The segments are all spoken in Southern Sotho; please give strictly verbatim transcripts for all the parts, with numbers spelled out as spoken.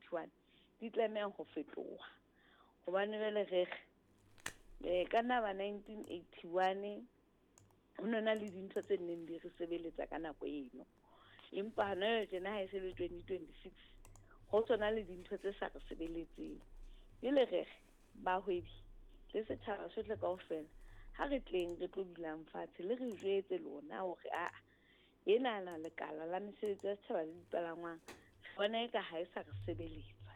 eighty-one di tlameha ho fetoha. Hobane jwale re re ka naba nineteen eighty-one ho no na le dintho tse neng di re sebeletsa ka nako eno. Empa hona jwale tjena ha e se le twenty twenty-six ho tsona le dintho tse sa re sebeletseng. Jwale re re bahwebi le setjhaba sohle kaofela ha re tleng re tlo dulang fatshe le re jwetse lona hore aa ena na lekala la mesebetsi ya setjhaba le dipalangwang re bona eka ha e sa re sebeletsa.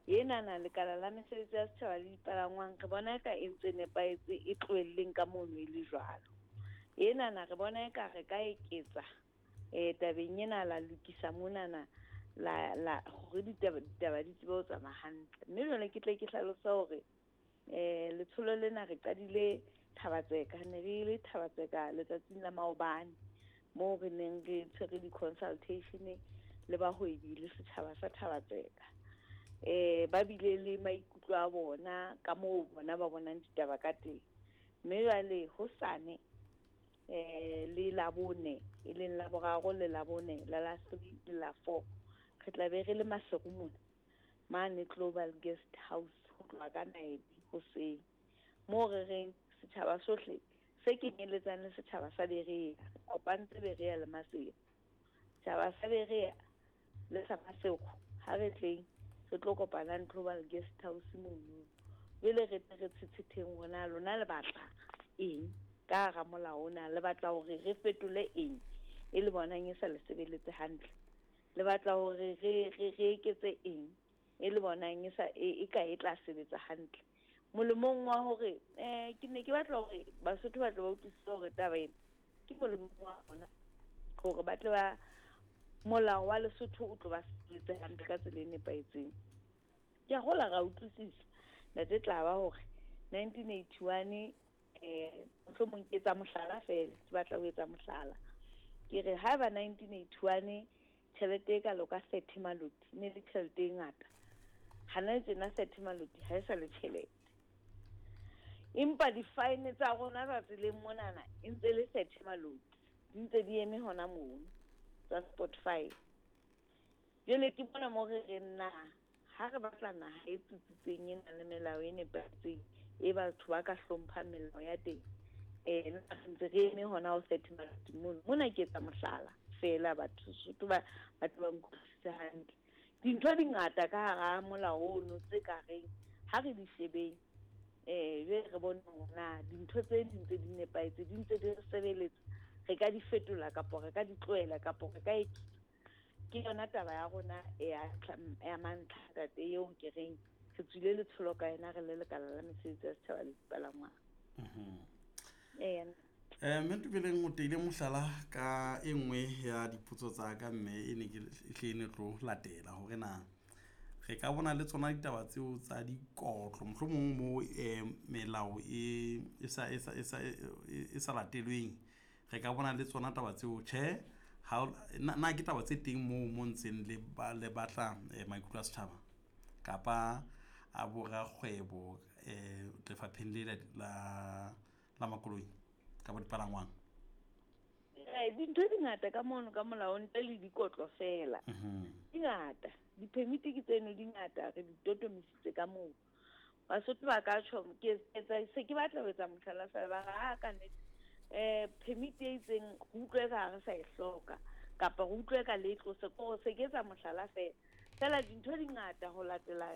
Ena na lekala la mesebetsi ya setjhaba le dipalangwang re bona eka e ntse nepahetse e tlohelleng ka mono e le jwalo. Ena na re bona eka re ka eketsa eh tabeng ena la lokisa monana la la hore ditaba ditaba di tsebe ho tsamaya hantle. Mme jwale ke tle ke hlalose hore eh letsholo lena re qadile Thabatseka, ne re le Thabatseka letsatsing la maobane moo re neng re tshwere di-consultation le bahwebi le setjhaba sa Thabatseka. Eh ba bile le maikutlo a bona ka moo bona ba bonang ditaba ka teng. Mme jwale hosane eh le Labone e leng Laboraro le Labone la la three le la four re tla be re le Maseru mona mane Global Guest House ho tloha ka nine hoseng moo re reng setjhaba sohle se kenyelletsang le setjhaba sa Berea, re kopantse Berea le Maseru. Setjhaba sa Berea le sa Maseru ha re tleng re tlo kopanang Global Guest House mono. Jwale re tle re tshetshetheng hore na lona le batla eng ka hara molao ona, le batla hore re fetole eng e le bonang e sa le sebeletse hantle, le batla hore re re re eketse eng e le bonang e sa e ka e tla sebetsa hantle. Molemong wa hore eh ke ne ke batla hore Basotho ba tle ba utlwisise hore taba ena ke molemong wa bona hore ba tle ba molao wa Lesotho o tlo ba sebetse hantle ka tsela e nepahetseng. Ke a hola ra utlwisisa ntate tla ba hore nineteen eighty-one eh mohlomong ke etsa mohlala feela, ke batla ho etsa mohlala. Ke re haeba nineteen eighty-one tjhelete e kalo ka thirty maloti ne le tjhelete e ngata, hana tjena thirty maloti ha e sa le tjhelete. Empa di-fine tsa rona tsa tseleng monana e ntse le thirty maloti, di ntse di eme hona mono tsa spot fine. Jwale ke bona moo re reng na ha re batla naha e tsitsitseng e nang le melao e nepahetseng e batho ba ka hlomphang melao ya teng, eh nna re ntse re eme hona ho thirty maloti mono. Mona ke etsa mohlala feela, batho Sotho ba batho ba nkutlwisise hantle. Dintho di ngata ka hara molao ono tse ka reng ha re di shebeng eh jwale re bone hore na dintho tse di ntse di nepahetse, di ntse di re sebeletsa, re ka di fetola kapa re ka di tlohela kapa re ka eketsa. Ke yona taba ya rona ya ya mantlha ntate eo ke reng re tswile letsholo ka yona re le lekala la mesebetsi ya setjhaba le dipalangwang. Mhm. Eya. Eh mme Ntobeleng o teile mohlala ka e nngwe ya dipotso tsa ka mme e ne ke e hle e ne tlo latela hore na re ka bona le tsona ditaba tseo tsa dikotlo mohlomong mo eh melao e e sa e sa e sa e sa latelweng, re ka bona le tsona taba tseo tjhe ha na, na ke taba tse teng moo mo ntseng le ba le batla eh, maikutlo a setjhaba kapa a borakgwebo eh lefapheng le la la makoloi kapa dipalangwang? Eh dintho di ngata ka mono ka molao ntle le dikotlo feela. Mhm. Di ngata, di-permit ke tseno di ngata, re di totomisitse ka moo. Basotho ba ka tjho ke etsa se ke batla ho etsa mohlala feela ba re ha ka nnete eh permit e itseng re utlwe ka ha re sa e hloka kapa re utlwe ka le tlose, ke hore se ke etsa mohlala feela. Feela dintho di ngata ho latela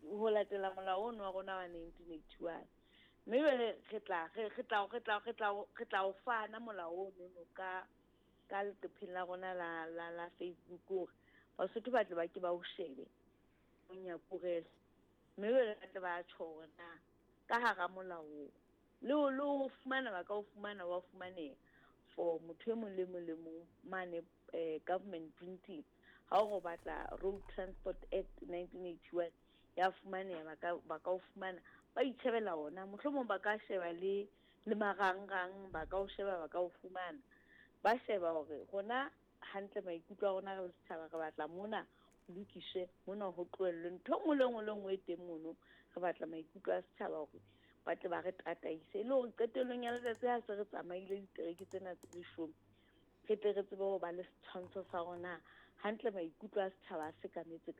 ho latela molao ono wa rona wa nineteen eighty-one. Mme jwale re tla re re tla re tla re tla re tla o fana molao ono no ka ka leqepheng la rona la la la Facebook hore Basotho ba tle ba ke ba o shebe monyakurele. Mme jwale ba tle ba tjho hore na ka hara molao oo le ho le ho fumana ba ka o fumana wa fumaneha for motho e mong le mong le mong mane eh government printing. Ha o batla Road Transport Act nineteen eighty-one ya fumaneha, ba ka ba ka o fumana ba itjhebela ona, mohlomong ba ka sheba le le marangrang, ba ka o sheba ba ka o fumana, ba sheba hore rona hantle maikutlo a rona re le setjhaba re batla mona ho lokiswe, mona ho tlohellwe ntho e nngwe le nngwe le nngwe e teng mono, re batla maikutlo a setjhaba hore ba tle ba re tataise e le hore qetellong ya letsatsi ha se re tsamaile ditereke tsena tse leshome re tle re tsebe ho ba le setshwantsho sa rona hantle maikutlo a setjhaba a sekametse ka.